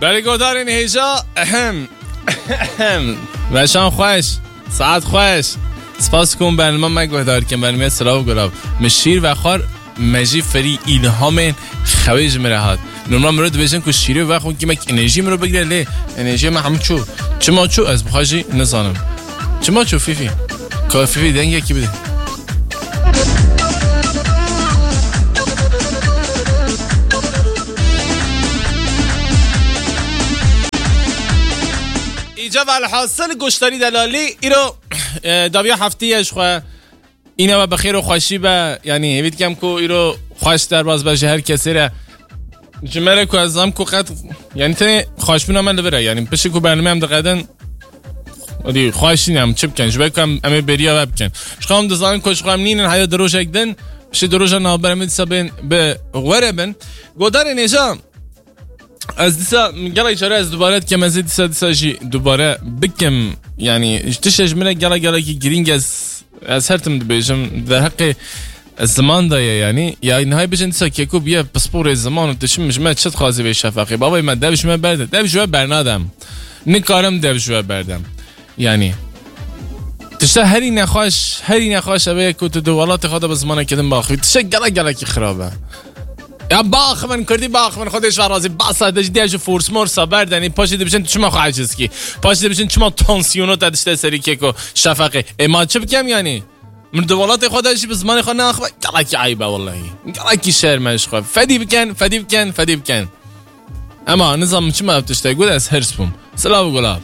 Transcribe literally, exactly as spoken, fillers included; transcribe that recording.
Belê guhdarên hêja, ehem, ehem. Weşan xweş, saet xweş. Spas ku bernama me guhdar kin, bernameyê Silav û Gulav. Min şîr vexwar, me jî ferî îlhamên xewê ji min re hat. Normal mirov dibêjin ku şîrê vexwin kîmek enerjî mirov bigire, lê enerjiya me hemû çû. Çima çû, ez bi xwe jî nizanim. Çima çû Fîfî? Ka Fîfî dengekî bide. Îca velhasil goşdarî delalî îro, e, dawiya heftê ye ji xwe. Îne we bi xêr û xweşî be. Yanî hêvî dikem ku îro xweş derbas be ji her kesê re. Ji me re ku ez zam ku qet, yanî tenê xweşbûna me li vir e. Yanî piştî ku bername em diqedin, Hadi xweş nîne, em çi bikin? Ji ber ku em, em ê bêriya we bikin. Ji xwe em dizanin ku ji xwe em nînin, haya di rojek din, piştî di roja navber em ê dîsa bên bi we re bin. Godarên hêja, ez dîsa gelek care ez dubare dikim, ez ê dîsa, dîsa jî dubare bikim. Yanî, ji tiştê ji min re gelek, gelekî girîng ez, ez her tim dibêjim, di heqê ziman de ye, yanî. Ya nihay bijin dîsa keko biye pisporê ziman û tu çi, ji me çi dixwazî vê şefaqê? Bavê me, dev ji me berde, dev ji we bernadem. Nikarim dev ji we berdem. Yanî, tişta herî nexweş, herî nexweş ev e ku tu di welatê xwe de bi zimanekî din baxivî. Tişta gelek, gelekî xirab e. Ya baxivin, kurdî baxivin, Xwedê ji we razî. Basa de ji diya ji fors morsa berdenî, paşê dibijin tu çima xwe eciz kî? Paşê dibijin çima tansiyona te dişte serî keko şefeqê? Ê ma çi bikem yanî? Min di welatê xwe de jî bi zimanê xwe neaxive, gelekî eyb e wellahî. Gelekî şerm e ji xwe. Fedî bikin, fedî bikin, fedî bikin. Ema nizam çima ev tişte got, ez hirs bûm. Silav û gulav.